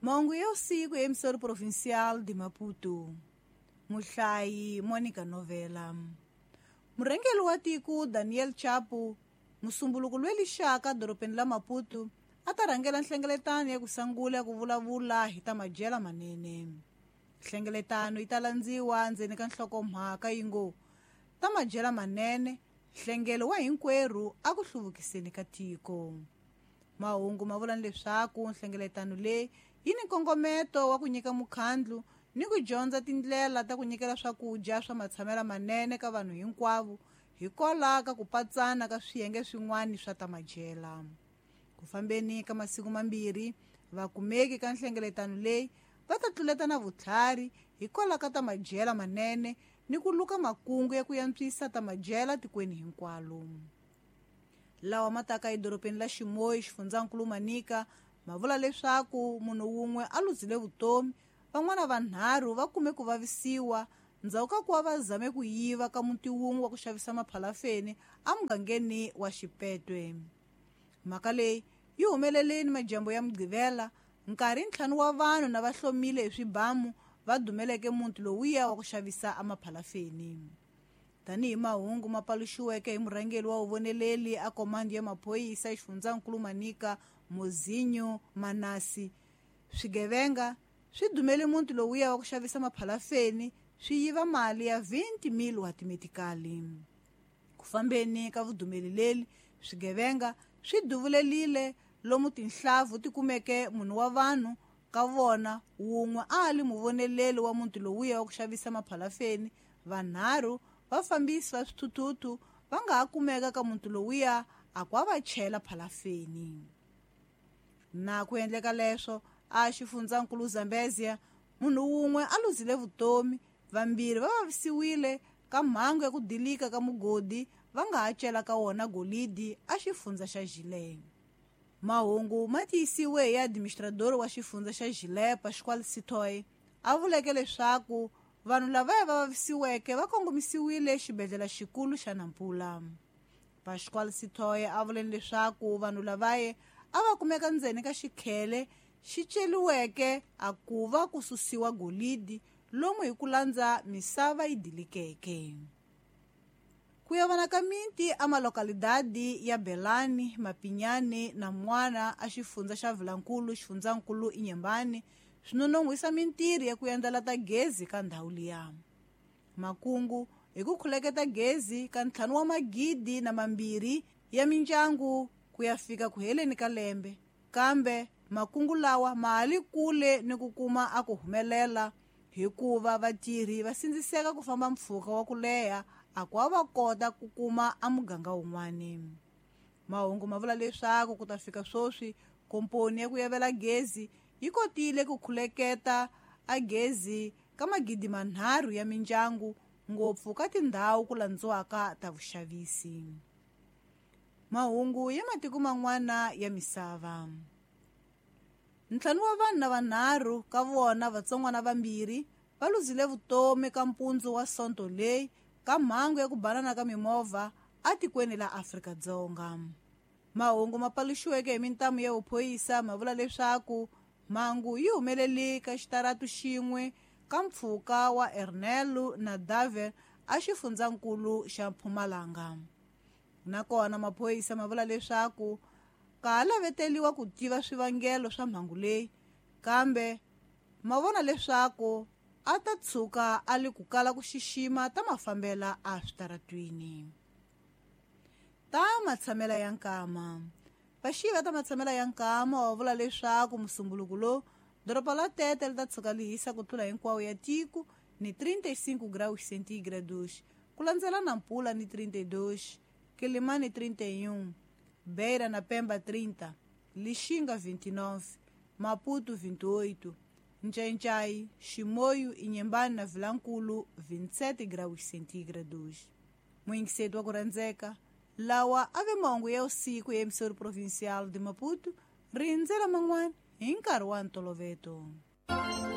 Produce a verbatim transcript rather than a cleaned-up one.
Mahungu ya usiku ya emissora provincial de Maputo. Muhlayi Monica Novela. Murhangeri wa tiko Daniel Chapo, musumbuluko loyi lixaka dorobeni la Maputo, a ta rhangela nhlengeletano ya ku sungula ku vulavula hi ta madyelo manene. Nhlengeletano yi ta landziwa ndzeni ka nhlokomhaka yi ngo ta madyelo manene, nhlengelo wa hinkwerhu a ku hluvukiseni ka tiko. Mahungu ma vula leswaku nhlengeletano leyi yi ni nkongometo wa ku nyika mukhandlu ni ku dyondza tindlela ta ku nyikela swakudya swa matshamelo manene ka vanhu hinkwavo hikwalaho ka ku patsana ka swiyenge swin'wana swa ta madyela. Ku fambeni ka masiku mambirhi, vakumeki ka nhlengeletano leyi va ta tluletana vutlhari hikwalaho ka ta madyela manene ni ku luka makungu ya ku antswisa ta madyela tikweni hinkwalo. Lawa ma taka edorobeni la Ximoyi, xifundzankulu Manica, ma vula leswaku munhu wun'we a luzile vutomi, van'wana vanharhu va kume ku vavisiwa ndzhaku ka ku va va zame ku yiva ka muti wun'we wa ku xavisa maphalafeni emugangeni wa Xipetwe. Mhaka leyi yi humeleleni madyambu ya Mugqivela, nkarhi ntlhanu wa vanhu na va hlomile hi swibamu va dumeleke muti lowuya wa ku xavisa emaphalafeni. Tanihi mahungu ma paluxiweke hi murhangeri wa vuvoneleli a komandi ya maphorisa xifundzankulu Manica, Mozinho Manasi, swigevenga swi dumele muti lowuya wa ku xavisa maphalafeni swi yiva mali ya twenty mil wa timetikali. Ku fambeni ka vudumeli leli, swigevenga swi duvulelile lomu tinhlavu ti kumeke munhu wa vanhu ka vona wun'we a li muvoneleli wa muti lowuya wa ku xavisa maphalafeni, vanharhu vafambisi va swithuthuthu va nga ha kumeka ka muti lowuya a ku va chela phalafeni. Na ku endleka leswo a xifundzankulu Zambezia, munhu wun'we a luzile vutomi, vambirhi va vavisiwile ka mhangu ya ku dilika ka mugodi va nga ha cela ka wona golidi a xifundza xa Gilé. Mahungu ma tiyisiwe hi administrador wa xifundza xa Gilé, Pascoal Sitoy, a vuleke leswaku vanhu lavaya va vavisiweke va kongomisiwile xibedhlele xikulu xa Nampula. Pascoal Sitoy a vule leswaku vanhu lavaya a va kumeka ndzeni ka xikhele xi celiweke a ku va ku susiwa golidi lomu hi ku landza misava yi dilikeke. Ku ya vona ka miti a malokalidadi ya Belani, Mapinyani na Mwana a xifundza xa Vilankulu, xifundzankulu Inyembani, swi nonon'hwisa mintirho ya ku endlela ta gezi ka ndhawu liya. Makungu hi ku khuleketa gezi ka ntlhanu wa magidi na mambirhi ya mindyangu ku ya fika ku heleni ka lembe, kambe makungu lawa ma ha li kule ni ku kuma a ku humelela hikuva vatirhi va sindziseka ku famba mpfhuka wa ku leha a ku va kota ku kuma a muganga wun'wani. Mahungu ma vula leswaku ku ta fika sweswi komponi ya ku yavela gezi yi kotile ku khuleketa a gezi ka magidi manharhu ya mindyangu, ngopfu ka tindhawu ku landziwaka ta vuxavisi. Mahungu ya matiko man'wana ya misava. Ntlhanu wa vanhu na vanharhu ka vona vatsongwana vambirhi va luzile vutomi ka mpundzu wa Sonto leyi ka mhangu ya ku banana ka mimovha atikweni la Afrika-Dzonga. Mahungu ma paluxiweke hi mintamu ya vuphoyisa ma vula leswaku mhangu yi humelele ka xitaratu xin'we ka mpfhuka wa Ernelu na Davel a xifundzankulu xa Mpumalanga. Nakona maphorisa ma vula leswaku ka ha laveteliwa ku tiva swivangelo swa mhangu leyi, kambe ma vona leswaku a ta tshuka a li ku kala ku xixima ta mafambela a switaratwini. Ta matshamela ya nkama. Vaxiva ta matshamela ya nkama wa vula leswaku musumbuluko lowu doroba la Tete li ta tshuka li hisa ku tlula hinkwawo ya tiko ni trinta e cinco graus centígrados, ku landzela Nampula ni trinta e dois, Quelimane trinta e um, Beira na Pemba trinta, Lixinga vinte e nove, Maputo vinte e oito, Nchainchai, Chimoio, Inhambane na Vilankulu vinte e sete graus centígrados. Muingiseto wa ku rhandzeka, lawa a ve mahungu ya usiku ya emissora provincial de Maputo, rindzela man'wana hi nkarhi wa ntoloveto.